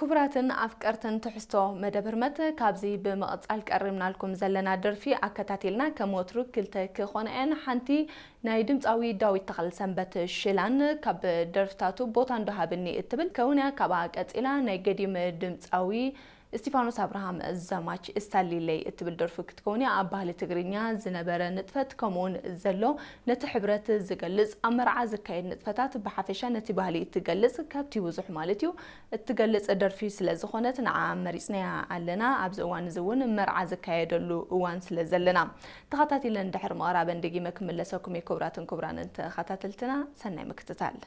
ክቡራትን ኣፍቀርትን ትሕዝቶ መደብ ህርመት፣ ካብዚ ብምቕጻል ቀሪብናልኩም ዘለና ደርፊ ኣከታቲልና፣ ከም ወትሩ ክልተ ክኾና እየን። ሓንቲ ናይ ድምጻዊ ዳዊት ተኽለሰንበት ሽላን ካብ ደርፍታቱ ቦታ እንዶ ሃብኒ እትብል ከውን እያ። ካብኣ ቀጺላ ናይ ገዲም ድምጻዊ እስቲፋኖስ ኣብርሃም ዘማች እስታሊለይ እትብል ደርፊ ክትከውን እያ። ኣብ ባህሊ ትግርኛ ዝነበረ ንጥፈት ከምኡውን ዘሎ ነቲ ሕብረት ዝገልጽ፣ ኣብ መርዓ ዝካየድ ንጥፈታት ብሓፈሻ ነቲ ባህሊ እትገልጽ፣ ካብቲ ብዙሕ ማለት እዩ፣ እትገልጽ ደርፊ ስለ ዝኾነት ንዓ መሪጽናያ ኣለና። ኣብዚ እዋን እዚ እውን መርዓ ዝካየደሉ እዋን ስለ ዘለና። ተኸታቲለን ድሕሪ ምቕራበን ደጊመ ክምለሰኩም እየ። ክቡራትን ክቡራንን ተኸታተልትና ሰናይ ምክትታል።